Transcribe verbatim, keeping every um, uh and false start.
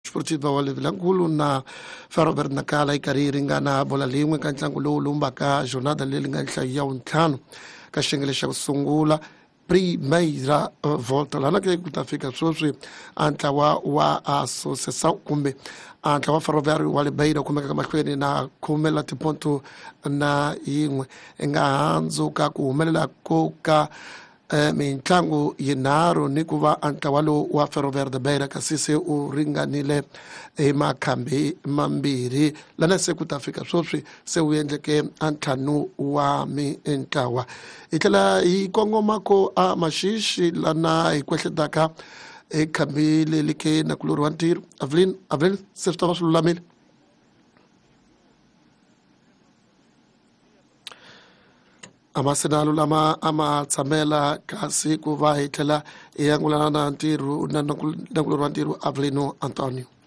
Desportiva wa le Vilankulu na Ferroviário Nacala yi karhi yi ringana bola lin'we ka ntlangu lowu lumbaka jornada leyi nga nhlayo ya wuntlhanu ka xiyenge xa ku sungula Primeira Volta. Lana ke ku ta fika sweswi a ntlawa wa Associação kumbe a ntlawa Ferroviário wa le Beira kumeka mahlweni na khume la tiponto na yin'we i nga handzuka ku humelela ko ka eh, mintlangu yinharhu ni ku va a ntlawa lowu wa Ferroviário de Beira kasi se u ringanile hi makhambi mambirhi lana se ku ta fika sweswi se wu endleke a ntlhanu wa mintlawa. Hi tlhela hi kongoma ko a Maxixi lana hi kwehletaka hi khambi leri ke nakulorhi wa ntirho Avelin. Avelin, se swi ta va swi lulamile? A ma sena lulama a ma tshamela kasi ku va hi tlhela hi angulana na ntirho na nakulorhi wa ntirho Avelino Antonio.